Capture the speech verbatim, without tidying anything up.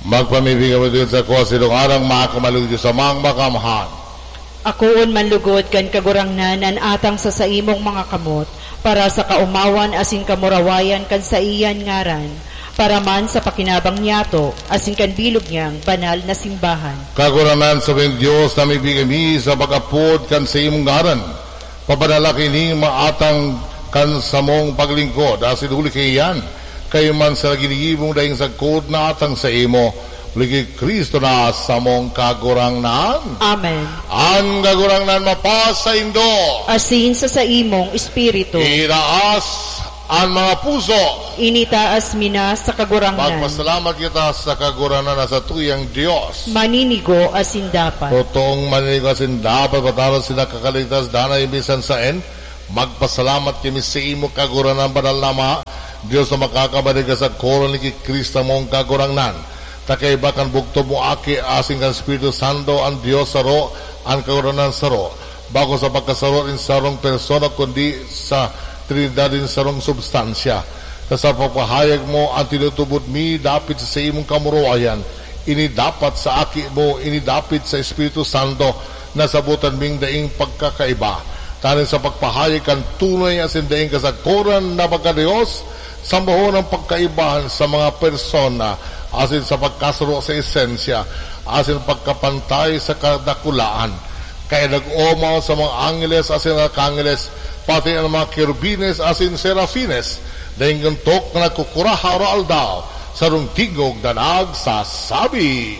Magpamibig kami sa kuha silong arang makamalugyo sa mga makamhan. Akoon man lugod kan Kagurangnan an atang sa saimong mga kamot, para sa kaomawan asin kamurawayan kan saiyan ngaran, para man sa pakinabang niyato asin kan bilog niyang banal na simbahan. Kagurangnan sa Dios na mibigay mi sa pag-apod kan saimong ngaran, pabanala ki ning mga atang kan samong paglingkod, asin huli kaiyan, kayo man sa ginigibong daing sagkod na atang saimo, huli ki Cristo na samong Kagurangnan. Amen. An Kagurangnan mapasaindo. Asin sa saimong espiritu. Itaas an mga puso. Initaas mi na sa Kagurangnan. Magpasalamat kita sa Kagurangnan na sa tuyang Dios. Maninigo asin dapat. Totoong maninigo asin dapat, pataro sa nakakaligtas, danay minsan saen. Magpasalamat kami sa imo, Kagurangnan, banal na Ama, Dios na makakabanal ka sa koron ni Cristo mong Kagurangnan. Ta kaiba kan bugto mo Aki asin kan Espiritu Santo, an Dios saro, an Kagurangnan saro, bako sa pagkasaro nin sarong persona, kundi sa Trinidad nin sarong substansya. Ta sa pagpahayag mo, an tinutubod mi dapit sa saimong kamurawayan, ini dapat sa Aki mo, ini dapit sa Espiritu Santo, nasabotan ming daing pagkakaiba. Tanganing sa pagpahayag kan tunay asin daing kasagkoran na pagka-Dios, sambahon ang pagkaibahan sa mga persona, asin sa pagkasaro sa esensya, asin pagkapantay sa kadakulaan. Kaya nag-omaw sa mga angeles asin arkangeles, pati ang mga kerubines asin serafines, daing guntok na nagkukurahaw aroaldaw, sarong tingog na nagsasabi,